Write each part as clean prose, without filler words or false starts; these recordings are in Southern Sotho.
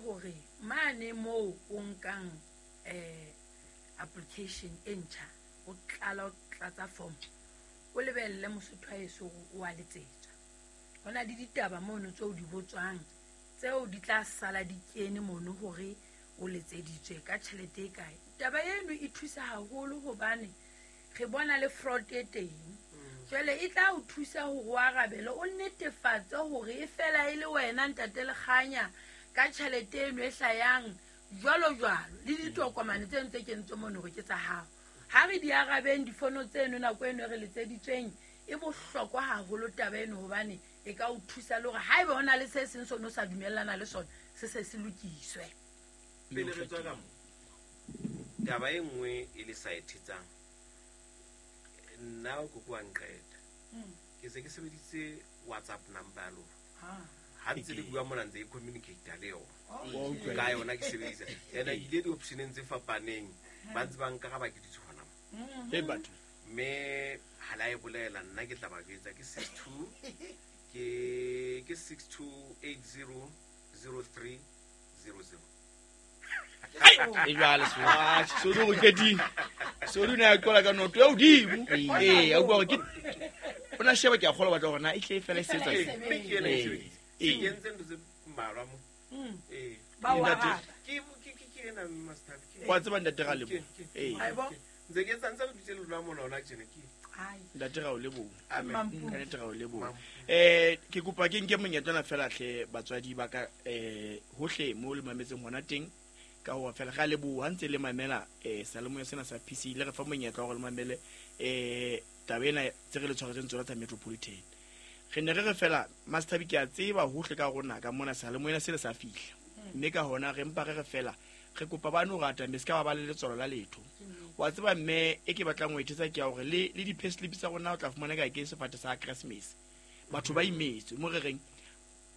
hore mane moo o nkang application e ntjha, o tlala o tlatsa form, o lebelle Mosotho wa heso hore o a letsetswa. Ho na le ditaba mono tseo di botswang, tseo di tla sala di kene mono hore o letseditswe ka tjhelete e kae. Taba eno e thusa haholo hobane re bona le fraud e teng. Jwale e tla o thusa hore o arabele, o netefatse hore e fela e le wena ntate Lekganya ka tjhelete eno e hlayang jwalo jwalo, le ditokomane tseno tse kentswe mono hore ke tsa hao. Ha re di arabeng difono tseno nako eno e re letseditsweng, e bohlokwa haholo taba eno hobane e ka o thusa le hore haeba ho na le se seng sone o sa dumellana le sona, se se se lokiswe. Pele re tswa ka mo, taba e nngwe e le sa e thetsang, nna koko wa nqeta. Ke se ke sebeditse WhatsApp number ya lona. Ha ntse le bua mona ntse ke communicate le yona. Ka yona ke sebedisa. Ena ke ile di-optioneng tse fapaneng, ba ntse ba nkaraba ke dutse hona mo. Hey, batho. Mme ha la e bolela nna ke tla ba jwetsa ke 62 ke 62800300. E jwale so. Ah, so o qetile. So o ne a qola ka noto ya hodimo. Ee, a utlwa hore ke o na sheba ke a kgolwa batla hore na e tle e fela e sebetsa. Mme ke ena e Ee. sebeditse. Ee. Ke entse ntho tse mmalwa mo. Ee. Ba o Ntate. araba. Ke ena master. Wa tseba ntate ga lebo. Ee. Haibo. Ntse ke etsa ntse re dutse le lona mona hona tjena ke. Ai. Ntate ga o leboha. Amen. Mampudi. Ka nnete ga o leboha. Ke kopa ke nke monyetla ona fela hle batswadi ba ka, hohle mo le mametseng hona teng, ka hore fela ga leboha ha ntse le mamela, seyalemoya sena sa PC, le re fa monyetla wa hore le mamele, taba ena tse re le tshwaretseng tsona tsa Metropolitan. Re ne re re fela Master ke a tseba hohle ka rona ka mona seyalemoya sena sa fihla. Mme ka hona re mpa re re fela re kopa ba no rata mme se ka ba ba le letswalo la letho. Wa tseba mme e ke batlang ho ethetsa ke ya hore le di-pay slip tsa rona o tla fumana ka ke sefate sa Christmas. Batho ba imetswe mo re reng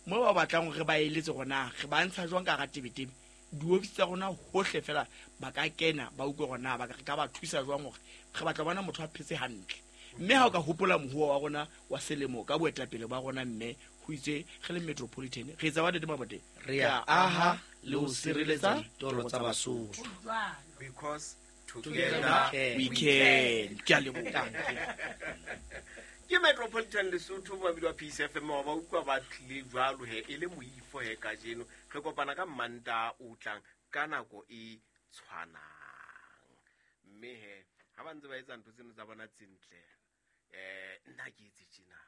mo ba batlang hore re ba eletse hore na re ba ntsha jwang ka hara tebetebe. Di-office tsa rona hohle fela ba ka kena ba utlwe hore na ba ka ba thusa jwang hore re batla ho bona motho a phetse hantle. Mme ha o ka hopola mohuo wa rona wa selemo ka boetapele ba rona mme ho itse re le Metropolitan re etsa wa ntate Mabote. Re a aha le ho sireletsa ditoro tsa Basotho. Because Together together we can. Ke a leboha. Ke Metropolitan Lesotho mabidi wa Peace FM wa ba utlwa ba tlile jwalo he e le moifo he kajeno. Re kopana ka Mantaha o tlang ka nako e tshwanang. Mme he ha ba ntse ba etsa ntho tseno tsa bona tse ntle, nna ke etse tjena.